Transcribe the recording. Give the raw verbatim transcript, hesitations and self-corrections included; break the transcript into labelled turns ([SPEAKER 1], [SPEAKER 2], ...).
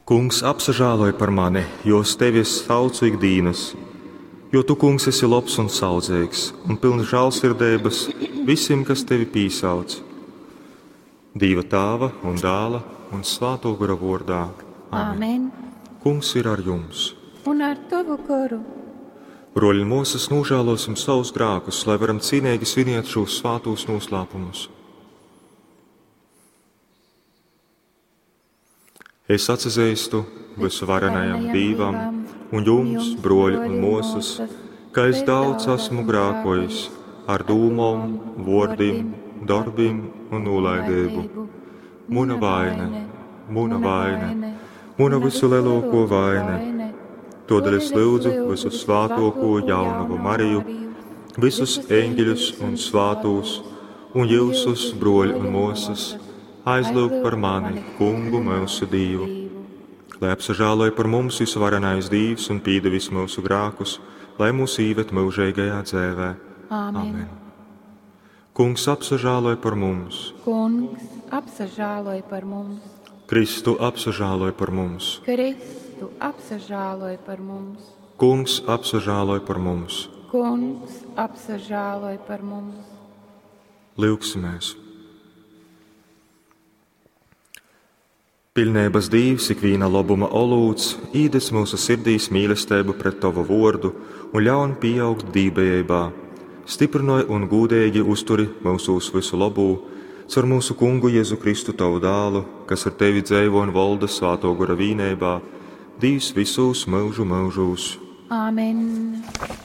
[SPEAKER 1] Kungs, apsažāloj par mani, jo uz tevi es saucu ik dīnas. Jo tu, kungs, esi lobs un saudzeigs un pilns žālsirdeibas visim, kas tevi pīsauc. Dīva tāva un dāla un svāto gora vordā.
[SPEAKER 2] Amen. Amen.
[SPEAKER 1] Kungs ir ar jums.
[SPEAKER 2] Un ar tavu goru.
[SPEAKER 1] Broļi un mūsas, nožēlosim savus grēkus, lai varam cīnīgi svinēt šos svātos noslēpumus. Es atzīstu visuvarenajam Dievam un jums, broļi un mūsas, ka es daudz esmu grēkojis ar dūmom, vōrdim, darbim un nolaidību. Muna vaina, muna vaina, muna visu lielāko vaina. Todēļ es lūdzu visu svātoko jaunavu Mariju, visus eņģeļus un svātos, un jūsus, broļi un mūsas, aizlūgt par mani, kungu mūsu Dievu. Lai apsažāloja par mums visuvarenais Dievs un pīdevis mūsu grēkus, lai mūs īvet mūžīgajā dzēvē.
[SPEAKER 2] Āmen. Amen.
[SPEAKER 1] Kungs apsažāloja par mums.
[SPEAKER 2] Kungs apsažāloj par mums.
[SPEAKER 1] Kristu apsažāloj par mums.
[SPEAKER 2] Kristu apsažāloj par mums.
[SPEAKER 1] Kungs apsažāloj par mums.
[SPEAKER 2] Kungs apsažāloj par mums.
[SPEAKER 1] Lūksimies! Pilnības Dievs, ikviena labuma olūts, īdes mūsu sirdīs mīlestību pret Tavu vordu un ļaun pieaugt dībējībā. Stiprinoj un gūdīgi uzturi mūsos visu labū, caur mūsu kungu Jēzu Kristu Tavu dālu, kas ar Tevi dzēvo un valda svāto gora vīnībā, Dievs visos mūžu mūžos.
[SPEAKER 2] Āmen.